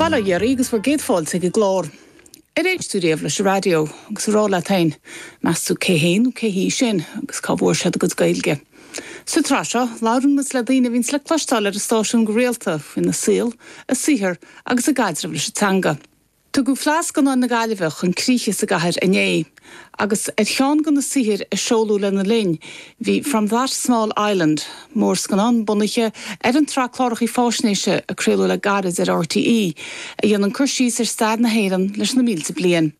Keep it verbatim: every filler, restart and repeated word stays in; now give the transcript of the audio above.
Bail ó Dhia oraibh agus bhur gcéad fáilte ag an gclár. Ar éist tú riamh leis an raidió agus ag rá leat féin, meas tú cé hé nó cé hí sin agus cá bhfuair siad a gcuid Gaeilge. Sa tsraith seo, labhrann muid le daoine a bhíonn le cloisteáil ar an stáisiún go rialta faoina saol, a saothar agus a gcaidreamh leis an teanga. Tugadh Fleadh Scannán na Gaillimhe chun críche sa gcathair inné, agus ar cheann de na saothair a seoladh lena linn, bhí From That Small Island, mórscannán bunaithe ar an tsraith cláracha faisnéise a craoladh le gairid ar RTÉ, a dhéanann cur síos ar stair na hÉireann leis na mílte bliain.